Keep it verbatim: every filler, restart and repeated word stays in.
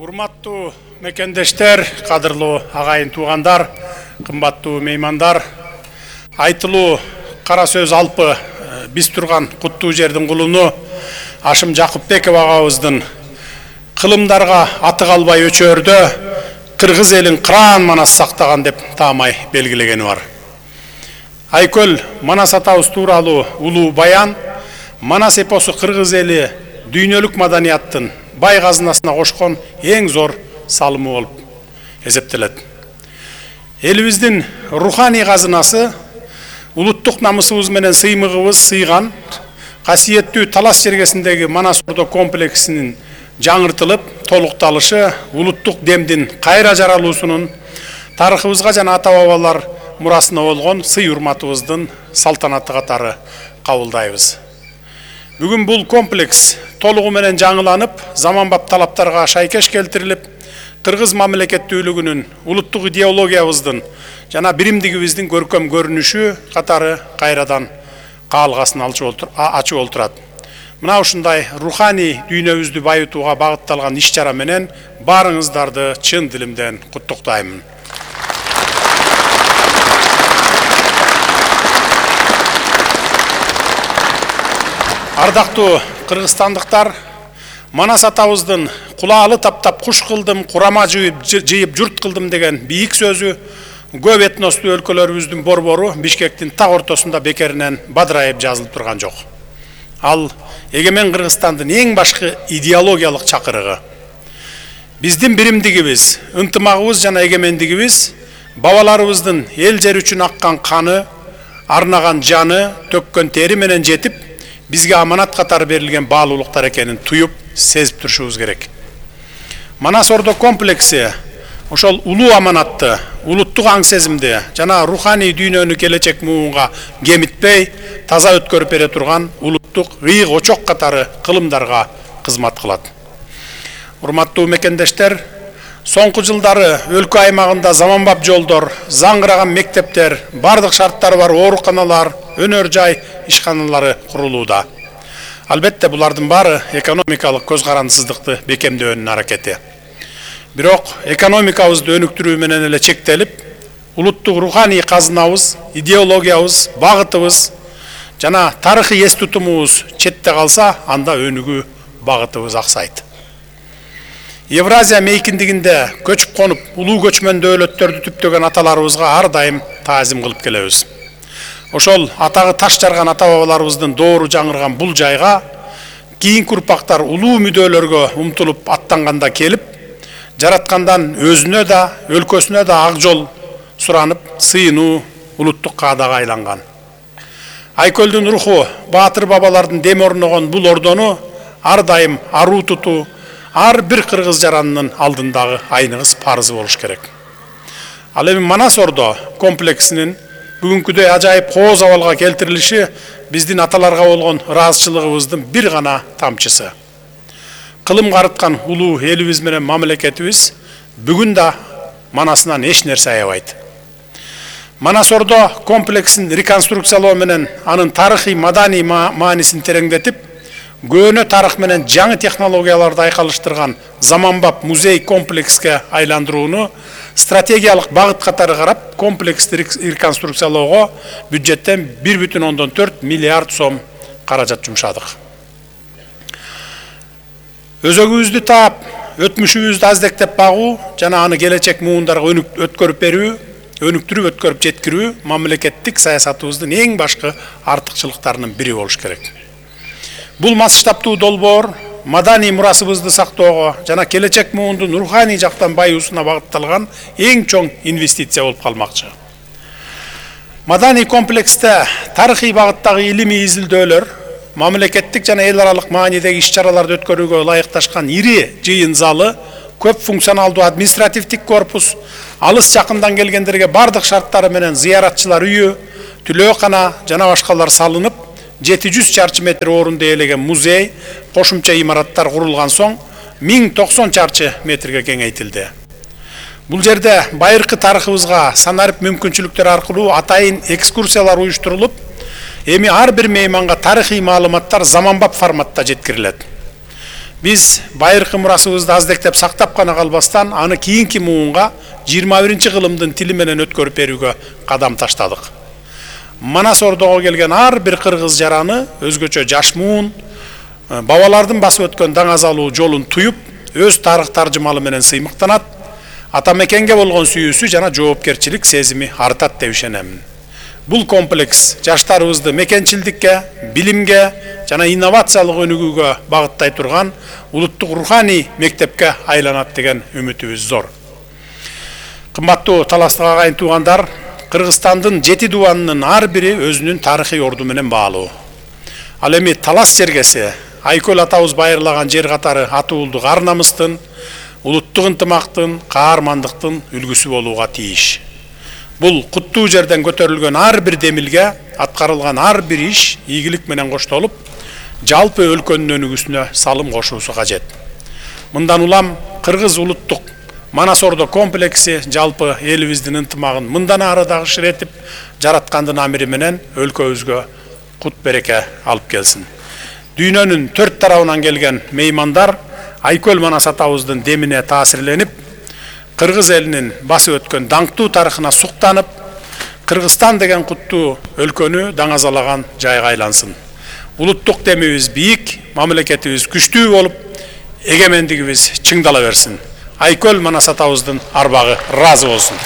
Урматтуу мекендештер, кадырлуу агайын туугандар, кымбаттуу меймандар, айтылуу кара сөз алпы биз турган куттуу жердин кулуну Ашым Жакупбеков агабыздын кылымдарга аты калбай өчөрдө кыргыз элин кыраан манас сактаган деп таамай белгилегени бар. Айкөл Манас атабыз тууралуу улуу баян Манас эпосу кыргыз эли дүйнөлүк маданияттын бай казынасына кошкон эң зор салымы болуп эсептелет. Элибиздин руханий казынасы улуттук намысыбыз менен сыймыгыбыз сыйган касиеттүү Талас жергесиндеги Манас Ордо комплексинин жаңыртылып, толукталышы улуттук демдин кайра жаралуусунун тарыхыбызга жана ата-бабалар мурасына болгон сый-урматыбыздын салтанаты катары кабылдайбыз. Бүгүн бул комплекс толугу менен жаңыланып, заманбап талаптарга шайкеш келтирилип, кыргыз мамлекеттүүлүгүнүн, улуттук идеологиябыздын жана биримдигибиздин көркөм көрүнүшү катары кайрадан каалгасын ачып олтурат. Мына ушундай руханий дүйнөбүздү байытууга багытталган иш-чара менен баарыңыздарды чын дилимден куттуктаймын. Ардактуу кыргызстандыктар, Манас атабыздын кулаалы таптап куш кылдым, курама жыйып журт кылдым деген бийик сөзү көп этностуу өлкөлөрүбүздүн борбору Бишкектин так ортосунда бекеринен бадырайып жазылып турган жок. Ал эгемен Кыргызстандын эң башкы идеологиялык чакырыгы. Биздин биримдигибиз, ынтымагыбыз жана эгемендигибиз бабаларыбыздын эл жер үчүн аккан каны, арнаган жаны, төккөн тери менен жетип, бизге аманат катары берилген баалуулуктар экенин туюп, сезип турушубуз керек. Манас Ордо комплекси ошол улуу аманатты, улуттук аң сезимди жана руханий дүйнөнү келечек муунга кемитпей, таза өткөрүп бере турган улуттук ыйык очок катары кылымдарга кызмат кылат. Урматтуу мекендештер, соңку жылдары өлкө аймагында заманбап жолдор, заңгыраган мектептер, бардык шарттары бар ооруканалар, өнөр жай ишканалары курулууда. Албетте булардын баары экономикалык көз карандысыздыкты бекемдөөнүн аракети. Бирок экономикабызды өнүктүрүү менен эле чектелип, улуттук руханий казынабыз, идеологиябыз, багытыбыз жана тарыхый эс тутумубуз четте калса, анда өнүгүү багытыбыз аксайт. Евразия мейкиндигинде көчүп конуп, улуу көчмөн дөөлөттөрдү түптөгөн аталарыбызга ар дайым таазим кылып келебиз. Ошол атагы таш жарган ата-бабаларыбыздын доору жаңырган бул жайга кийинки урпактар улуу мүдөлөргө умтулуп аттанганда келип, жараткандан өзүнө да, өлкөсүнө да ак жол суранып, сыйынуу улуттук каадага айланган. Айкөлдүн руху, баатыр бабалардын дем орногон бул ордону ар дайым аруу тутуу, ар бир кыргыз жаранынын алдындагы айныңыз парызы болуш керек. Ал эми Манас Ордо комплексинин бүгүнкүдөй ажайып кооз абалга келтирилиши биздин аталарга болгон ыраазычылыгыбыздын бир гана тамчысы. Кылым карыткан улуу элибиз менен мамлекетибиз бүгүн да Манасынан эч нерсе аябайт. Манас Ордо комплексин реконструкциялоо менен анын тарыхый маданий маанисин тереңдетип, көөнө тарых менен жаңы технологияларды айкалыштырган заманбап музей комплекске айландырууну стратегиялык багыт катары карап, комплексти реконструкциялоого бюджеттен бир бүтүн ондон төрт миллиард сом каражат жумшадык. Өзөгүбүздү таап, өтмүшүбүздү аздектеп багуу жана аны келечек муундарга өткөрүп берүү, өнүктүрүп өткөрүп жеткирүү мамлекеттик саясатыбыздын эң башкы артыкчылыктарынын бири болуш керек. Бул масштабтуу долбоор маданий мурасыбызды сактоого жана келечек муундун руханий жактан байуусуна багытталган эң чоң инвестиция болуп калмакчы. Маданий комплексте тарыхый багыттагы илимий изилдөөлөр, мамлекеттик жана эл аралык маанидеги иш-чараларды өткөрүүгө ылайыкташкан ири жыйын залы, көп функционалдуу административдик корпус, алыс жакындан келгендерге бардык шарттары менен зыяратчылар үйү, түлөөкана жана башкалар салынып, жети жүз чарчы метр орунду ээлеген музей, кошумча имараттар курулган соң миң токсон чарчы метрге кеңейтилди. Бул жерде байыркы тарыхыбызга санарып мүмкүнчүлүктөр аркылуу атайын экскурсиялар уюштурулуп, эми ар бир мейманга тарыхый маалыматтар заманбап форматта жеткирилет. Биз байыркы мурасыбызды аздектеп сактап гана калбастан, аны кийинки муунга жыйырма биринчи кылымдын тили менен өткөрүп берүүгө кадам таштадык. Манас Ордого келген ар бир кыргыз жараны өзгөчө жаш муун, бабалардын басып өткөн даңазалуу жолун туюп, өз тарых таржымалы менен сыймыктанат, ата мекенге болгон сүйүүсү жана жоопкерчилик сезими артат деп ишенемин. Бул комплекс жаштарыбызды мекенчилдикке, билимге жана инновациялык өнүгүүгө багыттай турган улуттук руханий мектепке айланат деген үмүтүбүз зор. Кымбаттуу таластык агайын туугандар, Кыргызстандын жети дубанынын ар бири өзүнүн тарыхый орду менен баалуу. Ал эми талас жергеси Айкөл атабыз байырлаган жер катары атуулдук ар намыстын, улуттук ынтымактын, каармандыктын үлгүсү болууга тийиш. Бул куттуу жерден көтөрүлгөн ар бир демилге, аткарылган ар бир иш ийгилик менен коштолуп, жалпы өлкөнүн өнүгүүсүнө салым кошуусу кажет. Мындан улам Кыргыз улуттук Манас Ордо комплекси жалпы элибиздин ынтымагын мындан ары дагы ширетип, жараткандын амири менен өлкөбүзгө кут береке алып келсин. Дүйнөнүн төрт тарабынан келген меймандар Айкөл Манас атабыздын демине таасирленип, Кыргыз элинин басып өткөн даңктуу тарыхына суктанып, Кыргызстан деген куттуу өлкөнү даңазалаган жайга айлансын. Улуттук демибиз бийик, мамлекетибиз күчтүү болуп, эгемендигибиз чыңдала берсин. Айкөл Манас атабыздын арбагы ыраазы болсун.